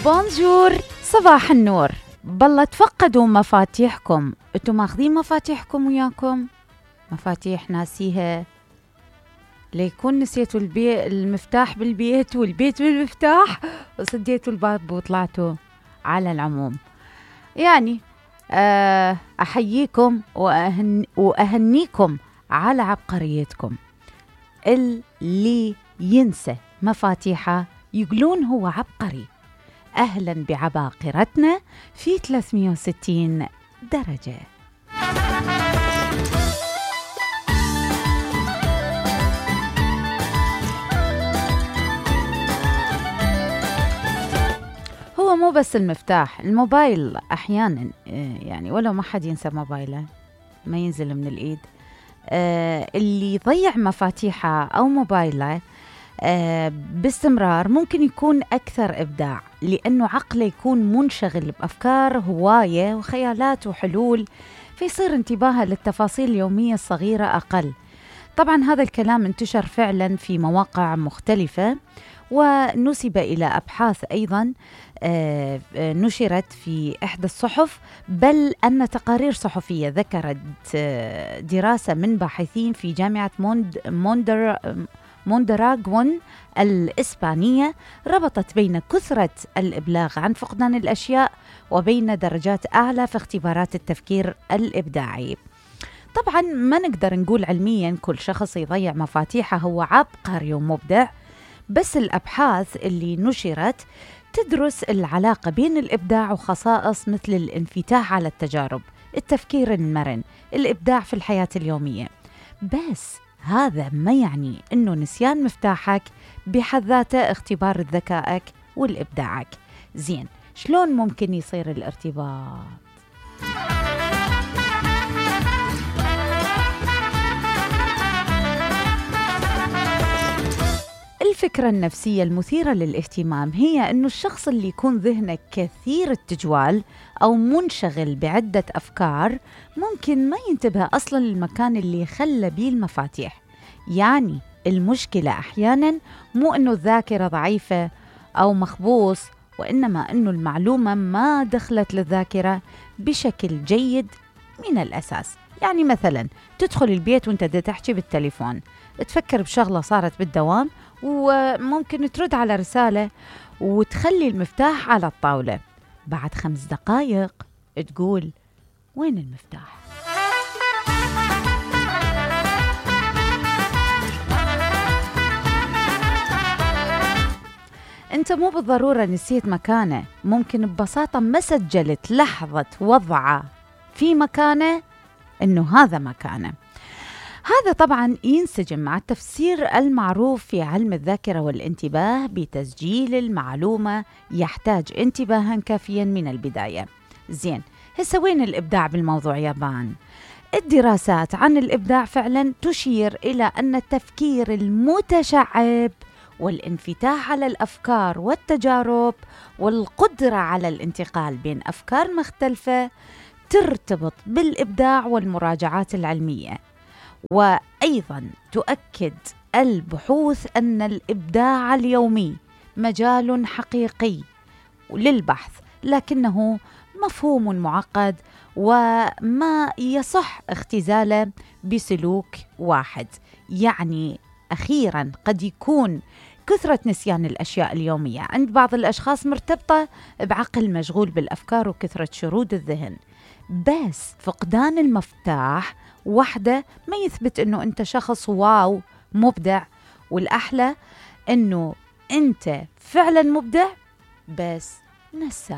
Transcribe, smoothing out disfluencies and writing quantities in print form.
بونجور، صباح النور. بالله تفقدوا مفاتيحكم. انتوا ماخذين مفاتيحكم وياكم؟ مفاتيح ناسيها؟ ليكون نسيتوا المفتاح بالبيت والبيت بالمفتاح وسديتوا الباب وطلعتوا. على العموم يعني أحييكم وأهنيكم على عبقريتكم. اللي ينسى مفاتيحه يقولون هو عبقري. أهلا بعباقرتنا في 360 درجة. هو مو بس المفتاح، الموبايل أحيانا يعني ولو ما حد ينسى موبايله ما ينزل من الإيد. اللي يضيع مفاتيحه أو موبايله باستمرار ممكن يكون أكثر إبداع، لأنه عقله يكون منشغل بأفكار هواية وخيالات وحلول، فيصير انتباهه للتفاصيل اليومية الصغيرة أقل. طبعا هذا الكلام انتشر فعلا في مواقع مختلفة، ونسب إلى أبحاث أيضا نشرت في إحدى الصحف، بل أن تقارير صحفية ذكرت دراسة من باحثين في جامعة موندراغون الإسبانية ربطت بين كثرة الإبلاغ عن فقدان الأشياء وبين درجات أعلى في اختبارات التفكير الإبداعي. طبعا ما نقدر نقول علميا كل شخص يضيع مفاتيحه هو عبقري ومبدع، بس الأبحاث اللي نشرت تدرس العلاقة بين الإبداع وخصائص مثل الانفتاح على التجارب، التفكير المرن، الإبداع في الحياة اليومية. بس هذا ما يعني إنه نسيان مفتاحك بحد ذاته اختبار ذكائك والإبداعك. زين، شلون ممكن يصير الارتباط؟ الفكرة النفسية المثيرة للاهتمام هي أنه الشخص اللي يكون ذهنه كثير التجوال أو منشغل بعدة أفكار ممكن ما ينتبه أصلا للمكان اللي خلى بيه المفاتيح. يعني المشكلة أحيانا مو أنه الذاكرة ضعيفة أو مخبوص، وإنما أنه المعلومة ما دخلت للذاكرة بشكل جيد من الأساس. يعني مثلا تدخل البيت وانت تحكي بالتليفون، تفكر بشغلة صارت بالدوام، وممكن ترد على رسالة وتخلي المفتاح على الطاولة. بعد 5 دقائق تقول وين المفتاح؟ انت مو بالضرورة نسيت مكانه، ممكن ببساطة ما سجلت لحظة وضعه في مكانه انه هذا مكانه. هذا طبعا ينسجم مع التفسير المعروف في علم الذاكرة والانتباه بتسجيل المعلومة يحتاج انتباها كافيا من البداية. زين، هسه وين الإبداع بالموضوع يابان؟ الدراسات عن الإبداع فعلا تشير إلى أن التفكير المتشعب والانفتاح على الأفكار والتجارب والقدرة على الانتقال بين أفكار مختلفة ترتبط بالإبداع والمراجعات العلمية. وأيضا تؤكد البحوث أن الإبداع اليومي مجال حقيقي للبحث، لكنه مفهوم معقد وما يصح اختزاله بسلوك واحد. يعني أخيرا قد يكون كثرة نسيان الأشياء اليومية عند بعض الأشخاص مرتبطة بعقل مشغول بالأفكار وكثرة شرود الذهن، بس فقدان المفتاح وحده ما يثبت أنه أنت شخص واو مبدع. والأحلى أنه أنت فعلا مبدع بس نساي.